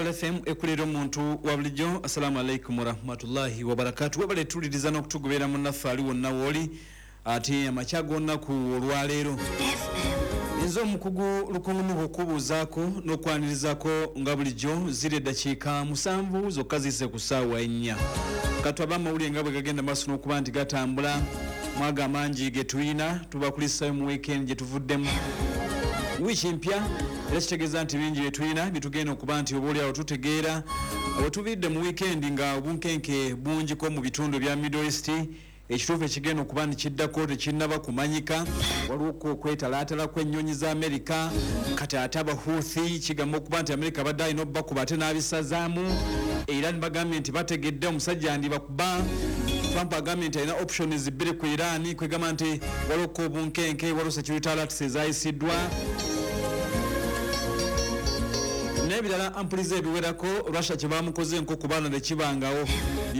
Pearl FM ekulera omuntu wa bulijjo. Assalamu alaikum warahmatullahi wabarakatu. Webale tuwuliriza n'okutugoberera munnaffe ali wonna wooli ate amakya g'olunaku olwaleero. Nze omukugu Lukungu okubuuzaako n'okwanirizaako nga bulijjo. Ziri eddakiika 7 zokka ziyise ku ssaawa 4. Katwabe amawulire nga bwe gagenda maaso n'okuba nti gatambula. Mwaga amangi ge tulina tubakulisayo mu weekend gye tuvuddemu, wiiki mpya, era kitegeeza nti bingi bye tulina bye tugenda okuba nti oba oliawo tutegeera. Bwe tuviiridde mu weekend nga obunkenke bungiko mu bitundu ebya Middle East, ekituufu ekigenda okuba nti kiddako tekinnaba kumanyika. Waliwo okwetalaatala kw'ennyonyi za Amerika. Kati ate Abahuthi kigamba okuba nti Amerika abadde alina obbakuba ate n'abisazaamu, era nibagambye nti bategedde omusajja andibakuba. Trump agambye nti alina options 2 ku Iran, kwegamba nti waliwo obunkenke, waliwo security alerts ezayisiddwa n'ebirala ampuliza ebiwerako. Russia kye bamukoze nko ku baana tekibangawo.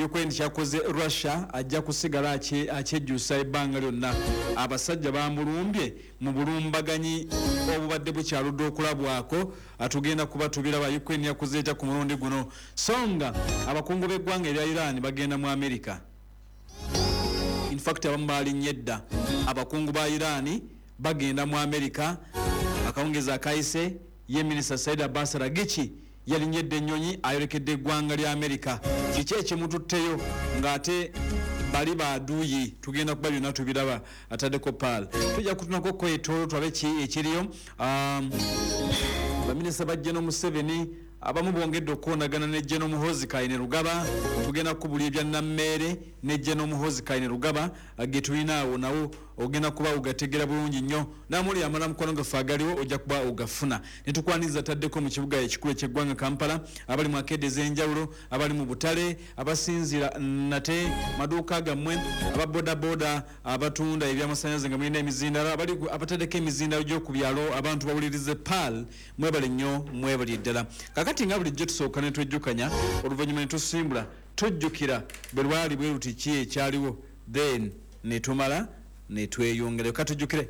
Ukraine kyakoze Russia ajja kusigala akyejjusa ebbanga lyonna. Abasajja bamulumbye mu bulumbaganyi obubadde bukyaludde okulabwako. Atugenda kuba tubiraba Ukraine yakoze etya ku mulundi guno. So nga abakungu b'eggwanga erya Iran bagenda mu America, in fact abamu balinnye dda. Abakungu ba Iran bagenda mu America. Akawungezi akayise ye minisita Said Abbas Araghchi yalinyedde ennyonyi ayolekedde eggwanga lya America. Kiki ekimututteyo ng'ate bali baduuyi? Tugenda kuba byonna tubiraba. Ataddeko Pearl, tujja kutunako kwetoolo tulabe ki ekiriyo. Baminisita ba General Museveni abamu bongedde okukoonagana ne General Muhoozi Kainerugaba. Tugenda kukubulya ebya Nammeere ne General Muhoozi Kainerugaba ge tulina awo, nawo ogenda kuba ogategera bulungi nnyo. Namuli amala mukwano gaffe agaliwo ojja kuba ogafuna. Ne tukwaniriza taddeko mu kibuga ekikulu eky'eggwanga Kampala, abali mu akede ez'enjawulo, abali mu butale, abasinziira nate maduuka gammwe, aba bodaboda, abatunda ebyamasannyalaze nga mulina emizindalo, abali abataddeko emizindalo gy'oku byalo, abantu bawulirize Pearl. Mwebale nnyo, mwebale ddala. Kakati nga bulijjo tusooka ne twejjukanya, oluvannyuma ne tusimbula. Tujjukira bwe lwali bwe luti ki ekyaliwo, then ne tumala ne tweyongerayo. Katujjukire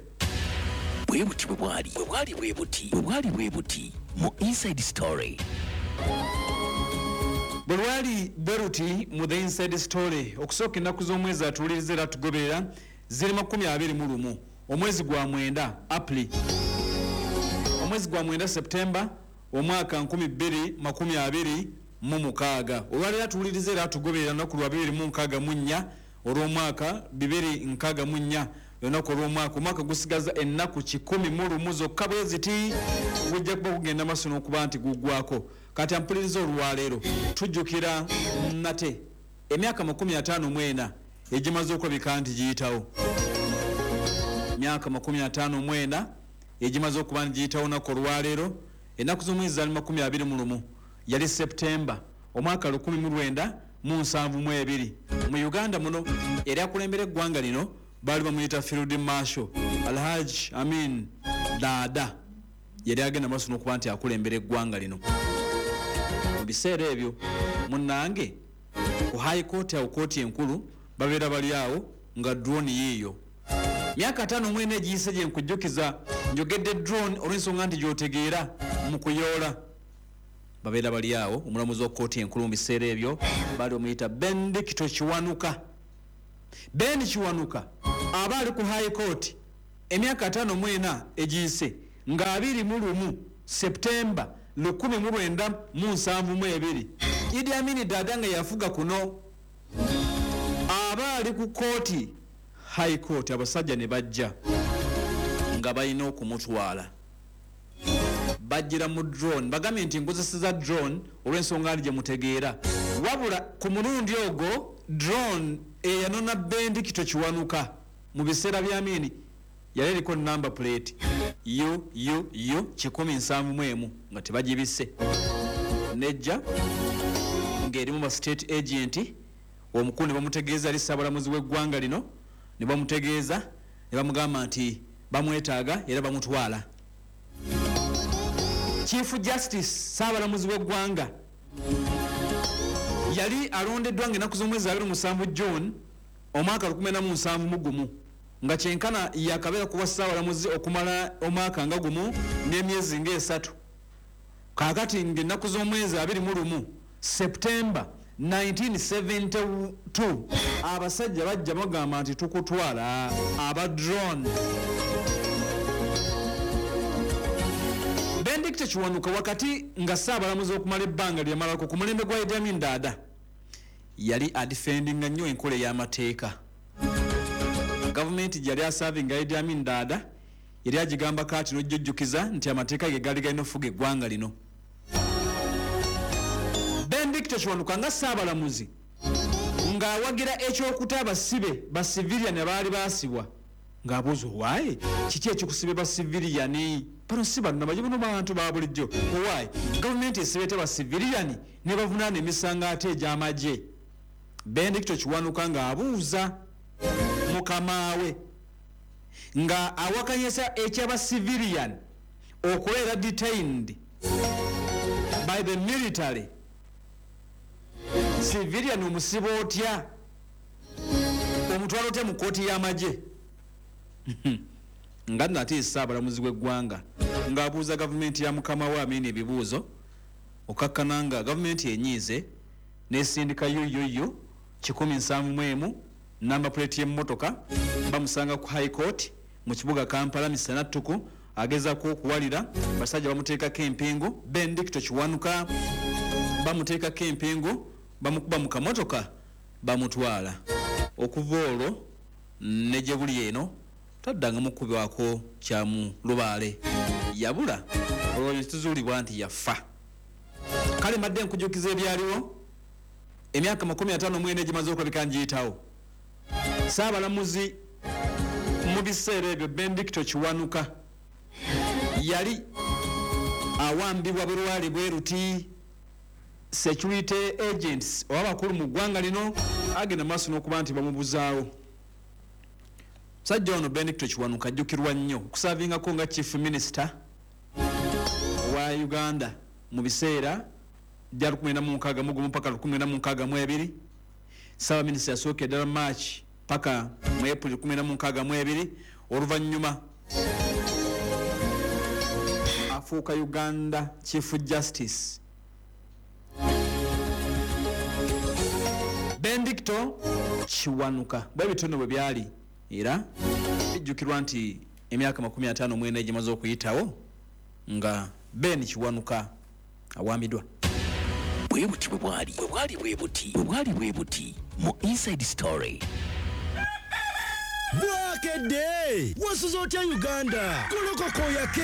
bwe buti bwe bwali, bwe bwali bwe buti, bwe bwali bwe buti mu Inside Story. Bwe lwali bwe luti mu The Inside Story. Okusooka, ennaku z'omwezi atuwuliriza era tugoberera ziri 21, omwezi gwa 9, April, omwezi gwa 9, September, omwaka 2026. Olwaleero atuwuliriza era atugoberera lunaku lwa 264 olw'omwaka 264, olunaku olw'omwaka. Omwaka gusigaza ennaku 101 zokka bwe ziti, gujja kuba kugenda maaso n'okuba nti guggwako. Kati ampuliriza, olwaleero tujjukira nate emyaka 54 egimaze okulabika nti giyitawo, myaka 54 egimaze okuba nti giyitawo. Naku olwaleero ennaku z'omwezi zaali 21, yali Septemba, omwaka 1972. Mu Uganda muno eri akulembera eggwanga lino baali bamuyita Field Marshal Alhaj Amin Dada. Yali agenda maaso n'okuba nti akulembera eggwanga lino mu biseera ebyo. Munnange, ku High Court awo, kooti enkulu, babeera bali awo nga drone yiiyo. Myaka 54 egiyise gye nkujjukiza. Njogedde drone olw'ensonga nti gy'otegeera mu kuyoola. Babeera bali awo, omulamuzi wa kooti enkulu mu biseera ebyo baali bamuyita Benedicto Kiwanuka. Ben Kiwanuka aba ali ku High Court emyaka 54 egiyise nga 21 Septemba 1972. Idi Amini Dada nga yafuga kuno aba ali ku kooti, High Court. Abasajja ne bajja nga balina okumutwala, bajjira mu drone. Bagambye nti nkozeseza drone olw'ensonga ndi gye mutegeera, wabula ku mulundi ogwo drone eyanona Bendikito Kiwanuka mu biseera bya Amini yali eriko number plate UUU 171 nga tebagibisse. Nejja ng'erimu ba state agent. Omukulu ne bamutegeeza, ali ssaabalamuzi w'eggwanga lino, ne bamutegeeza ne bamugamba nti bamwetaaga era bamutwala. Chief Justice, ssaabalamuzi w'eggwanga, yali alondeddwa ng'ennaku z'omwezi 27 June omwaka 1971, nga kyenkana yakabeera kuba ssaabalamuzi okumala omwaka nga gumu n'emyezi ng'esatu. Kaakati ng'ennaku z'omwezi 21 September 1972, abasajja bajja bagamba nti tukutwala, aba drone. Benedicto Kiwanuka, wakati nga ssaabalamuzi okumala ebbanga lyamalako ku mulembe gwa Idi Amin Dada, yali adefendinga nnyo enkola ey'amateeka. Gavumenti gyali aservinga, Idi Amin Dada, yali agigamba kaati n'ojjujjukiza nti amateeka ge gaali galina okufuga eggwanga lino. Benedicto Kiwanuka nga ssaabalamuzi ng'awagira ekyokuta abasibe ba civilian abaali baasibwa, ng'abuuza, "Owaaye, kiki ekikusibe ba civilian? Bano si bannamagye, bano bantu ba bulijjo. Owaaye, gavumenti esibe ba civilian ne bavunaana emisango ate egy'amagye?" Benedicto Kiwanuka ng'abuuza mukamaawe, nga awakanyisa ekyaba civilian okubeera detained by the military. Civilian omusiba otya, omutwala otya mu kooti y'amagye? Nga nno ate ssaabalamuzi w'eggwanga ng'abuuza gavumenti ya mukama we Amini ebibuuzo, okakkana nga gavumenti enyiize nesindika UUU 171, number plate y'emmotoka. Bamusanga ku High Court mu kibuga Kampala misana ttuku, agezaako okuwalira, basajja bamuteekako empingu. Benedicto Kiwanuka bamuteekako empingu, bamukuba mu kamotoka, bamutwala. Okuva olwo ne gye buli eno taddanga mukubwako kyamu lubaale, yabula. Olwo netuzuulibwa nti yafa. Kale mbadde nkujjukiza ebyaliwo emyaka 54 egimaze okulabika ngiyitawo. Saabalamuzi mu biseera ebyo Benedicto Kiwanuka yali awambibwa bulwale bwe ruti. Security agents oba abakulu mu ggwanga lino agenda maaso n'okuba nti bamubuzaawo. Musajja ono Benedicto Kiwanuka ajjukirwa nnyo okuservingako nga chief minister wa Uganda mu biseera bya 1961 paka 1962. Ssaabaminisita yasooka eddala March paka mu April 1962. Oluvannyuma afuuka Uganda Chief Justice. Benedicto Kiwanuka, bwe bitono bwe byali, era bijjukirwa nti emyaka 54 egimaze okuyitawo nga Ben Kiwanuka awambiddwa. Bwe buti bwe bwali, bwe bwali bwe buti, bwe bwali bwe buti mu Inside Story. Bwakedde, wasuza otya Uganda? Golokoka oyake,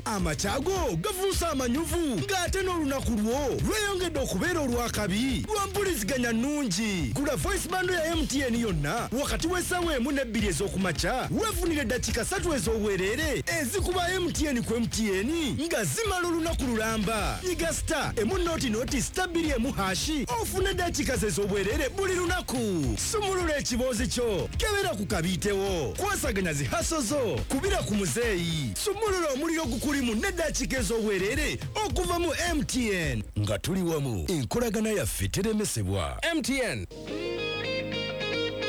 amakyago gafuuse amanyuvu, ng'ate n'olunaku lwo lweyongedde okubeera olwakabi lwa mpuliziganya nnungi. Gula voice bundle ya MTN yonna wakati w'essaawa 1 ne 2 ez'okumakya, weefunire eddakiika 3 ez'obwereere ezikuba MTN ku MTN nga zimala olunaku lulamba. Nyiga *100*2 1# ofune eddakiika ze ez'obwereere buli lunaku. Sumulula ekiboozi kyo, kebera ku kabiitewo, kwasaganya zi hustle zo, kubira ku muzeeyi, sumulula omuliro gukulimu n'eddakiika ez'obwereere okuva mu MTN. Nga tuli wamu, enkolagana yaffe teremesebwa. MTN.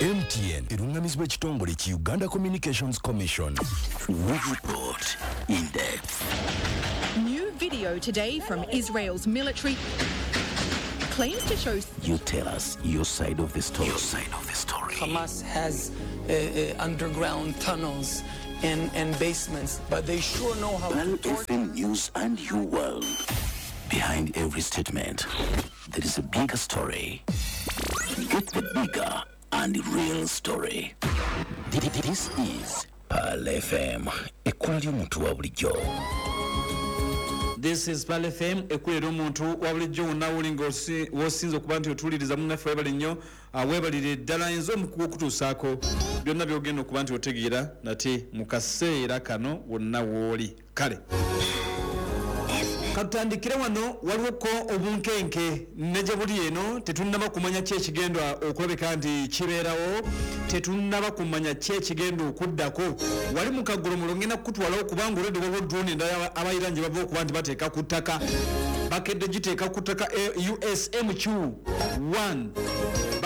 MTN eruŋŋamizibwa ekitongole ki Uganda Communications Commission. We report in depth. New video today from Israel's military claims to show You tell us your side of the story. Your side of the story. Hamas has underground tunnels and basements, but they sure know how Pearl to torture. FM News and your world. Behind every statement, there is a bigger story. Get the bigger and real story. This is Pearl FM. Ekkula ly'omuntu wa bulijjo. This is Pearl FM, ekkulira omuntu wa bulijjo. Wonna woli nga wosinza okuba nti otuwuliriza, munnaffe, webale nnyo, weebalire ddala. Nze omukugu okutuusaako byonna byogenda okuba nti otegeera nate mu kaseera kano wonna wooli. Kale katutandikire wano. Waliwoko obunkenke ne gye buli eno, tetunnaba kumanya ki ekigenda okulabika nti kibeerawo, tetunnaba kumanya ki ekigenda okuddako. Wali mu kagolomulo ngenda kukutwalawo, kubanga olwedde waliwo drone endala abayira gye bava okuba nti bateeka ku ttaka, bakedde giteeka ku ttaka, USMQ 1.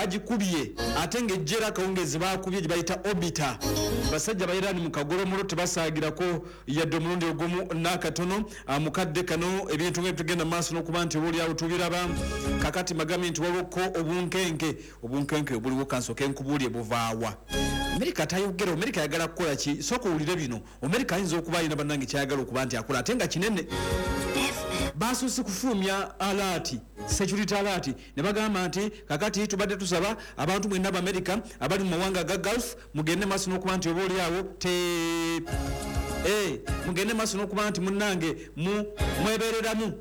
Bagikubye ate ng'ejjera akawungeezi bakubye gye bayita Orbiter. Basajja ba Iran mu kagolomolo tebasaagirako yadde omulundi ogumu n'akatono. Mukadde kano ebintu nga bitugenda maaso n'okuba nti obaoliawo tubiraba. Kakati magambye nti waliwoko obunkenke, obunkenke obuliwo kansooke nkubuulye buvaawa. Amerika tayogera, Amerika ayagala kukola ki? Sooka owulire bino. Amerika ayinza okuba alina bannange kyayagala okuba nti akola ate nga kinene. Basoose kufulumya alert, security alert, ne bagamba nti kakati tubadde tusaba abantu mwenna Abamerika abali mu mawanga ga Gulf mugende maaso n'okuba nti oba oliawo te mugende maaso n'okuba nti munnange mwebereramu,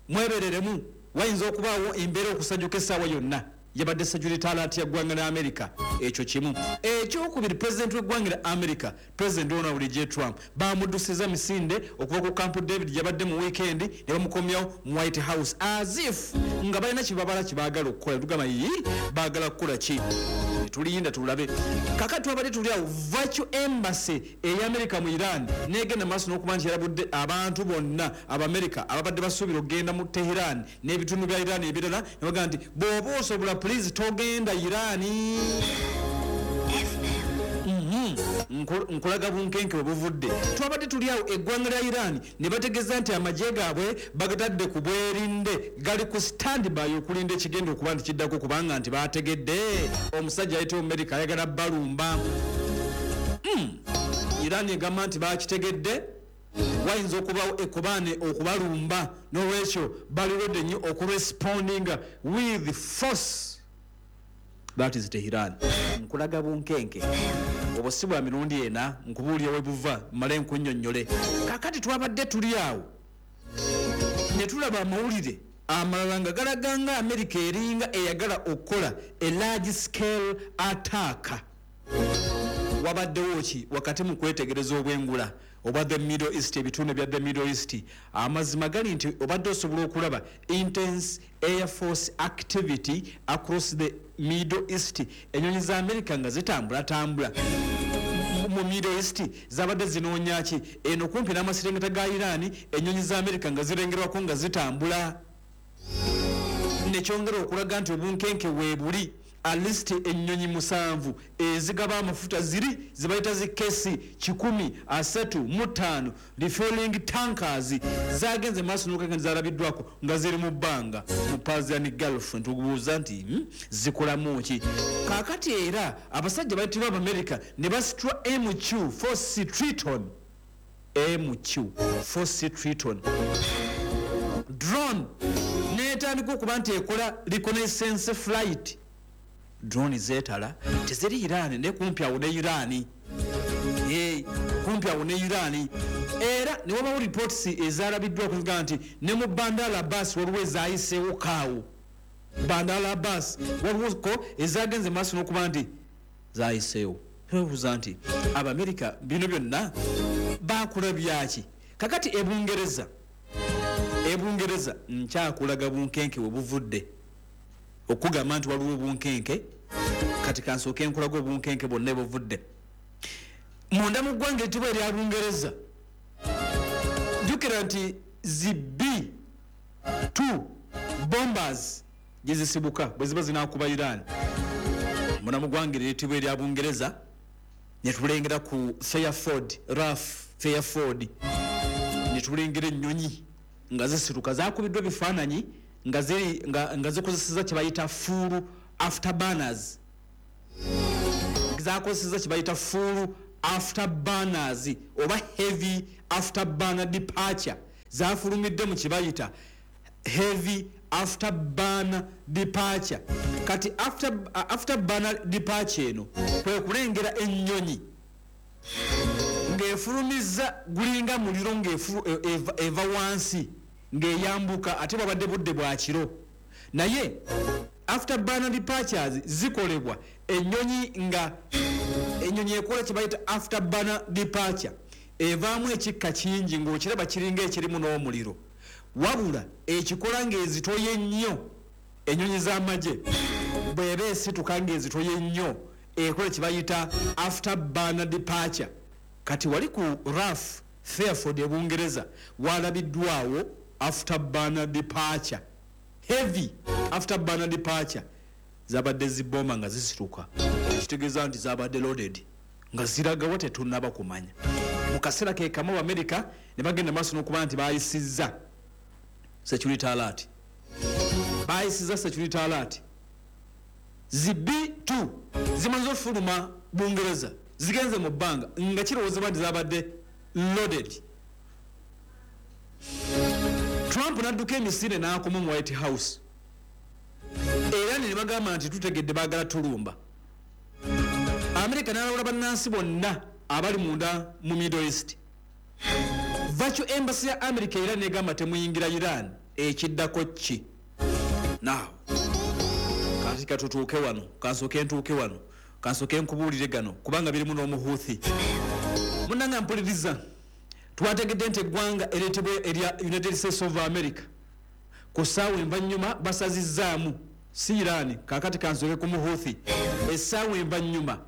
mwebereremu, wayinza okubaawo embeera okusajjuka essaawa yonna. Yabadde security alert ya ggwanga lya America. Ekyo kimu. Ekyokubiri, president w'eggwanga lya America, President Donald J Trump, bamuddusiza misinde okuva ku Camp David gyabadde mu weekend ne bamukomyawo mu White House, as if nga balina kyebabala kyebaagala okukola. Tugamba yi baagala kukola ki? Tuliyinda tulabe. Kakati twabadde tuli awo, virtual embassy eya America mu Iran negenda maaso n'okuba nti yarabudde abantu bonna Abamerika ababadde basuubira okugenda mu Teheran n'ebitundu bya Iran ebirala, ne bagamba nti bw'oba osobola please togenda Iran. Nkulaga bunkenke bwe buvudde. Twabadde tuli awo, eggwanga lya Iran ne bategeeza nti amagye gaabwe bagatadde ku bwerinde, gali ku standby okulinda ekigenda okuba nti kiddako, kubanga nti bategedde omusajja ayitibwa Amerika ayagala balumba. Iran egamba nti bakitegedde wayinza okubawo ekubaane okubalumba, n'olwekyo bali ready nnyo okurespondinga with force. That is Tehran. Nkulaga bunkenke obwo si bwa mirundi ena, nkubuulira we buva mmale nkunnyonnyole. Kakati twabadde tuli awo ne tulaba amawulire amalala nga galaga nga Amerika eringa eyagala okukola a large scale attack. Wabaddewo ki wakati mu kwetegereza obwengula obwa the Middle East, ebitundu bya the Middle East? Amazima gali nti obadde osobola okulaba intense air force activity across the Middle East. Ennyonyi za America nga zitambulatambula mu Middle East, zabadde zinoonya ki? Eno kumpi n'amaserengeta ga Iran, ennyonyi za America nga zirengerwako nga zitambula, nekyongera okulaga nti obunkenke weebuli. At least ennyonyi 7 ezigaba amafuta ziri zibayita zi KC 135 refueling tankers zagenze maaso n'okugenda zalabiddwako nga ziri mu bbanga mu Persian Gulf. Ntubuuza nti zikolamu ki? Kaakati era abasajja bayitibwa Abamerika ne basitula MQ-4C Triton, MQ-4C Triton drone netandika okuba nti ekola reconnaissance flight. Drone zeetala teziri Iran, ne kumpi awo ne Iran, kumpi awo ne Iran. Era ne wabawo reports ezalabiddwa okuvuga nti ne mu Bandar Abbas waliwo ezayiseewo kaawo. Bandar Abbas waliwoko ezagenze maaso n'okuba nti zayiseewo. Twebuuza nti Abamerika bino byonna bakola byaki? Kakati ebungereza, ebungereza nkyakulaga bunkenke we buvudde okugamba nti waliwo obunkenke. Kati kansooke nkulaga obunkenke bwonna buvudde munda mu ggwanga eritibwa erya Bungereza. Jjukira nti zi B-2 bombers gye zisibuka bwe ziba zinaakuba Iran. Munda mu ggwanga eritibwa erya Bungereza ne tulengera ku Fairford, RAF Fairford, ne tulengera ennyonyi nga zisituka, zakubiddwa ebifaananyi nga ziri nga zikozeseza kye bayita full afterburners, zakozeseza kye bayita full afterburners oba heavy afterburner departure. Zafulumidde mu kye bayita heavy afterburner departure. Kati afterburner departure eno kwe kulengera ennyonyi ng'efulumiza gulinga muliro ng'eva wansi ng'eyambuka, ate bwabadde budde bwa kiro. Naye afterburner departures zikolebwa ennyonyi nga ennyonyi ekola kye bayita afterburner departure, evaamu ekikka kingi ng'okiraba kiringa ekirimu n'omuliro, wabula ekikola ng'ezitoye ennyo. Ennyonyi z'amagye bw'eba esituka ng'ezitoye ennyo ekola kye bayita afterburner departure. Kati wali ku RAF Fairford e Bungereza walabiddwawo afterburner departure, heavy afterburner departure. Zabadde zibomba nga zisituka, ekitegeeza nti zabadde loaded, nga ziragawa tetunnaba kumanya. Mu kaseera ke kamu, Amerika ne bagenda maaso n'okuba nti bayisizza security alert, bayisizza security alert. Zi B2 zimaze ofuluma Bungereza, zigenze mu bbanga nga kirowoozebwa nti zabadde loaded. Trump n'adduka emisinde n'akoma mu White House, era ne bagamba nti tutegedde baagala tulumba. Amerika n'alawula bannansi bonna abali munda mu Middle East. Virtual embassy ya America era negamba temuyingira Iran. Ekiddako ki? Now kati katutuuke wano, kansooke ntuuke wano, kansooke nkubuulire gano kubanga birimu n'omuhuuthi. Munnanga mpuliriza, twategedde nti eggwanga ereetebwa erya United States of America ku ssaawa envannyuma basazizzaamu, si Iran, kaakati kansooke ku muhuuthi. Essaawa envannyuma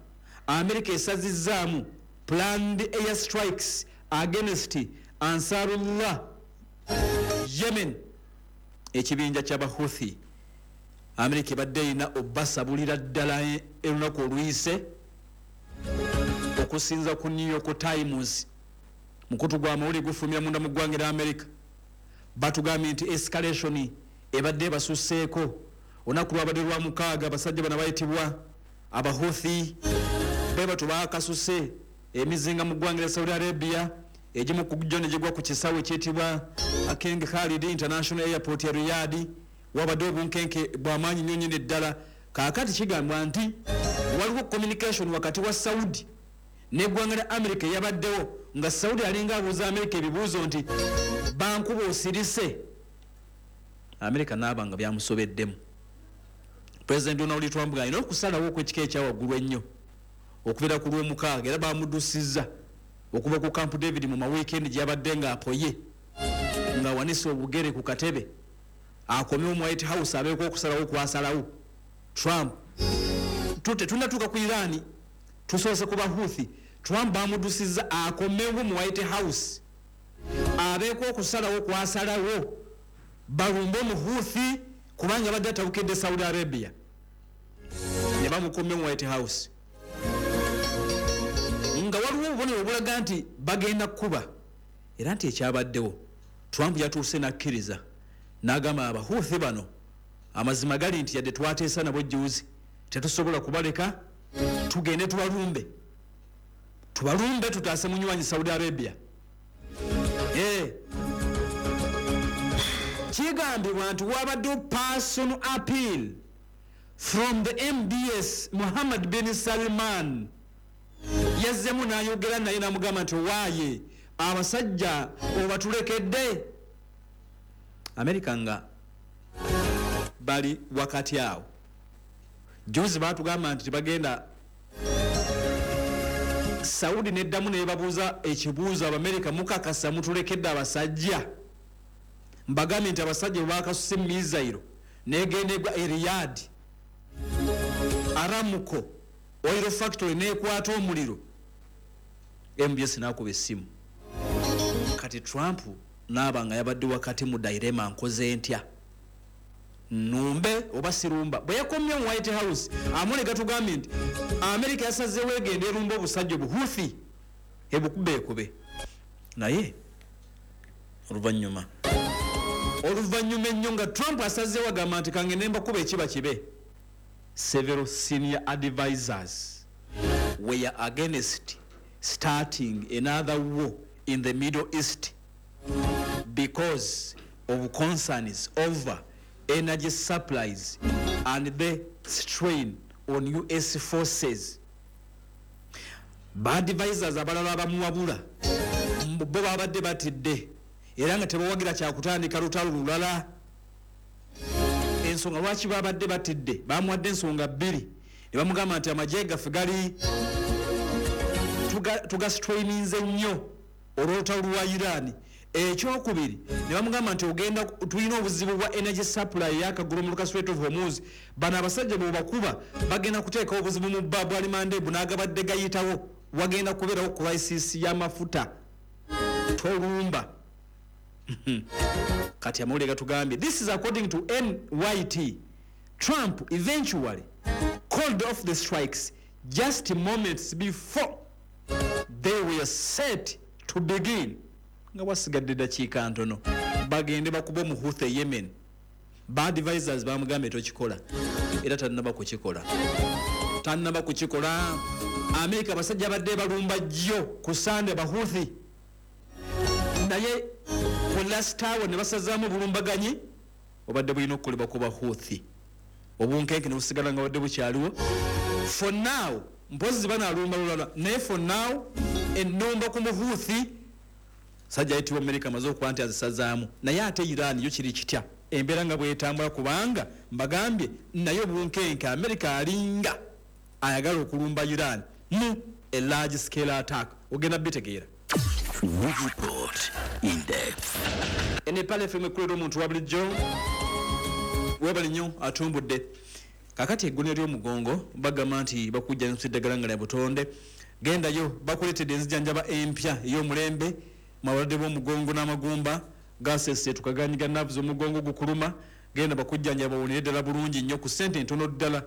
America esazizzaamu planned air strikes against Ansarullah Yemen, ekibinja ky'Abahuthi. Amerika ebadde erina obbasabulira ddala olunaku oluyise. Okusinza ku New York Times, mukutu gwa mawulire gufulumira munda mu ggwanga erya America, batugambye nti escalation ebadde ebasusseeko. Olunaku lwabadde lwa mukaaga, abasajja bano bayitibwa Abahuthi be bato bakasuse emizinga mu ggwanga lya Saudi Arabia, egimu ku gyo ne gigwa ku kisaawe ekyetibwa King Khalid International Airport ya Riyadh. Wabadde obunkenke bw'amaanyi nnyo nnyini ddala. Kaakati kigambwa nti waliwo communication wakati wa Saudi n'eggwanga lya America eyabaddewo, nga Saudi alinga abuuza America ebibuuzo nti bankuba osirise. America naaba nga byamusobeddemu. President Donald Trump alina okusalawo okw'ekika ekyawaggulu ennyo okubeera ku Lwomukaaga, era bamuddusizza okuva ku Camp David mu maweekend gyabadde ng'apoye ng'awanise obugere ku katebe, akomewo mu White House abeeko okusalawo kwasalawo. Trump, tetunnatuuka ku Iran, tusoose ku Bahuthi. Trump bamuddusizza akomewo mu White House abeeko okusalawo kwasalawo, balumbe omuhuthi kubanga badde atabukidde Saudi Arabia, ne bamukomye mu White House nga waliwo obubonero obulaga nti bagenda kukuba. Era nti ekyabaddewo, Trump yatuuse n'akkiriza n'agamba Abahuthi bano amazima gali nti yadde twateesa nabo jjuuzi, tetusobola kubaleka, tugende tubalumbe, tubalumbe tutaase munywanyi Saudi Arabia. Kigambibwa nti wabaddewo personal appeal from the MBS Muhammad bin Salman, yazzemu n'ayogera naye n'amugamba nti owaaye abasajja obatulekedde. Amerika nga bali wakati awo, juzi batugamba nti tebagenda. Saudi neddamu nebabuuza ekibuuzo, Abamerika mukakasa mutulekedde abasajja? Mbagambye nti abasajja bwe bakasuse missile negenda egwa e Riyadh, Aramco oil factory nekwata omuliro. MBS nakuba essimu. Kati Trump naaba nga yabadde wakati mu dilemma, nkoze ntya, numbe oba sirumba? Bwe yakomye mu White House, amule gatugambye nti America yasazeewo egenda erumba obusajja obuhuthi, ebukube ekube. Naye oluvannyuma ennyo nga Trump asazeewo agamba nti kangende mbakuba ekiba kibe, several senior advisors were against starting another war in the Middle East because of concerns over energy supplies and the strain on US forces. Baadvisors abalala bamuwabula bo babadde batidde era nga tebawagira kyakutandika lutalo lulala. Ensonga lwaki babadde batidde, bamuwadde ensonga bbiri ne bamugamba nti amagye gaffe gali tugastraininze nnyo olw'olutalo lwa Iran. Ekyokubiri ne bamugamba nti ogenda tulina obuzibu bwa energy supply yakagulu mu Strait of Hormuz, bano abasajja bwebakuba bagenda kuteekawo obuzibu mu Bab el Mandeb n'agabadde gayitawo, wagenda kubeerawo crisis y'amafuta, tolumba. Kati amawulire gatugambye, this is according to NYT. Trump eventually called off the strikes just moments before they were set to begin. Nga wasigadde dakiika ntono bagende bakuba omuhuthi e Yemen, ba advisors bamugambye tokikola, era tannaba kukikola, tannaba kukikola. Amerika abasajja badde balumba jjo ku Sande bahuthi, naye ku last hour ne basazaamu obulumbaganyi obadde bulina okukolebwa ku bahuthi, obunkenke ne busigala nga badde bukyaliwo. For now mpozi banalumba lulala, naye for now ennumba ku muhuthi sajja ayitibwa Amerika amaze okuba nti azisazaamu. Naye ate Iran yo kiri kitya embeera nga bwetambula? Kubanga mbagambye naye obunkenke, Amerika alinga ayagala okulumba Iran mu a large scale attack. Ogenda bitegeera. We report in depth. Enepala FM ekulera omuntu wa bulijjo, webali nnyo atumbudde. Kakati egguniro ly'omugongo bagamba nti bakujjanjabisa eddagala nga lya butonde. Gendayo bakuleetedde enzijanjaba empya ey'omulembe mu abalwadde b'omugongo n'amagumba gaseseetuka, ganyiga nerves, omugongo gukuluma, genda bakujjanjaba bawonere ddala bulungi nnyo ku ssente entono ddala.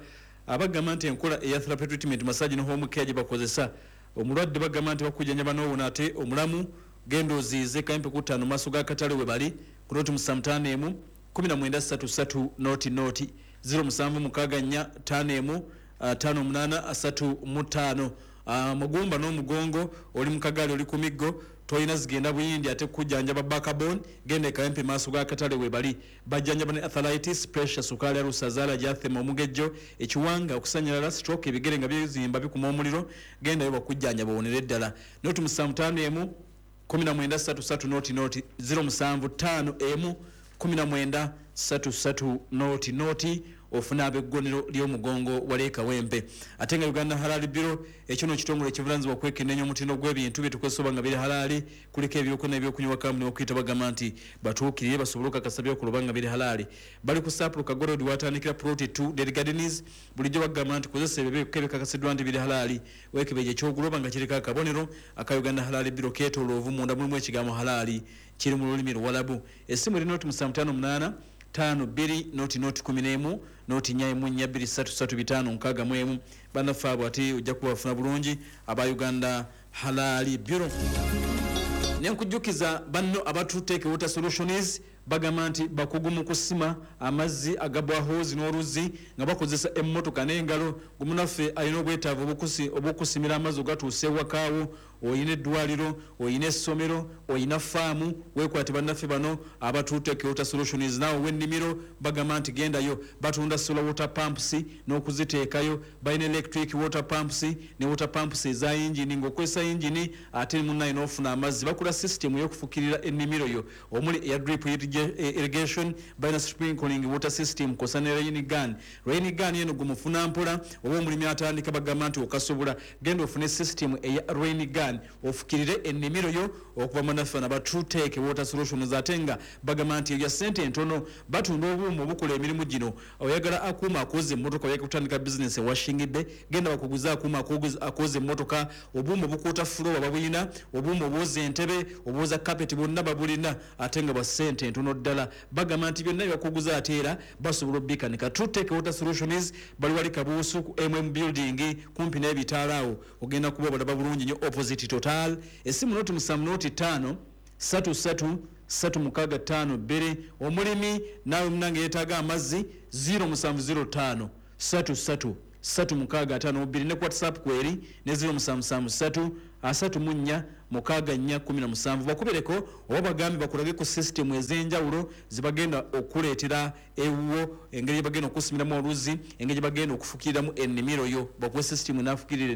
Abagamba nti enkola eya therapy treatment, massage ne home care gye bakozesa omulwadde, bagamba nti bakujjanjaba n'owona ate omulamu. Genda oziize Kawempe ku 5 maaso ga katale we bali ku 075 19 33 00 0764 51 58 35. Amagumba n'omugongo, oli mu kagaali, oli ku miggo, tolina zigenda buyindi ate kujjanjaba backbone, genda ekawempe maaso ga katale we bali. Bajjanjaba ne arthritis, pressure, sukaali, alusazaala gyathema, omugejjo, ekiwanga, okusanyalala, stroke, ebigere nga byezimba bikuma omuliro, gendayo bakujjanjaba owonere ddala. 075 19 33 00 0751 19 33 00 ofuna ab'eggonero ly'omugongo wali e Kawempe. Ate nga Uganda Halal Bureau, ekyo no kitongole ekivunaanyizibwa okwekenneenya omutindo gw'ebintu bye tukozesa oba nga biri halaali, kuliko ebyokulya n'ebyokunywa. Kampuni okuyita bagamba nti batuukirire basobole okukakasa byokola oba nga biri halaali. Bali ku Sapulu Kagorod watandikira plot 2 Dead Gardens. Bulijjo bagamba nti kozesa ebyo ebikakasiddwa nti biri halaali. Weekebeje ekyogula oba nga kiriko akabonero aka Uganda Halal Bureau keetooloovu, munda mulimu ekigambo halaali kiri mu lulimi Luwalabu. Essimu eri 078 5 2 0 0 11 0 4 1 4 2 3 3 5 6 1. Bannaffe abo ate ojja kubafuna bulungi aba Uganda Halal Bureau. Nenkujjukiza banno aba Trutech Water Solutions, bagamba nti bakugu mu kusima amazzi aga boreholes n'oluzzi nga bakozesa emmotoka n'engalo. Gumunaffe alina obwetaavu obw'okusimira amazzi ogatuuse ewakaawo, oyina eddwaliro, oyina essomero, oyina faamu, weekwate bannaffe bano aba Trutech Water Solutions. Naawe ow'ennimiro bagamba nti gendayo, batunda solar water pumps n'okuziteekayo, balina electric water pumps ne water pumps eza yingini ng'okozesa yingini ate munnaye n'ofuna amazzi. Bakola system ey'okufukirira ennimiro yo omuli eya drip irrigation, balina sprinkling water system kosa ne rain gun. Rain gun eno gumufuna mpola oba omulimi atandika, bagamba nti okasobola, genda ofune system eya rain gun ofukirire ennimiro yo okuva munnaffe naba Trutech Water Solutions. Ate nga bagamba nti ebya ssente entono batunda obuuma obukola emirimu gino. Oyagala akuuma akoza emmotoka, oyagala kutandika bizinesi ewashingidde, genda bakuguze akuuma akoza emmotoka. Obuuma obukuuta floor babulina, obuuma obwoza entebe, obwoza kapeti, bwonna babulina ate nga bwa ssente entono ddala. Bagamba nti byonna byebakuguza ate era basobola obikanika. Trutech Water Solutions bali wali Kabuusu ku MM building kumpi n'ebitaala awo, ogenda kuba obalaba bulungi nnyo opposite Total. Essimu 070 5 3 3 3 6 5 2. Omulimi naawe munange yeetaaga amazzi, 0705 3 3 3 6 5 2, ne ku WhatsApp kweri ne 0773 34 64 17. Bakubireko oba bagambe bakulage ku sisitemu ez'enjawulo zebagenda okuleetera ewuwo, engeri gyebagenda okusimiramu oluzzi, engeri gyebagenda okufukiriramu ennimiro yo, bakuwe sisitemu enaafukirira.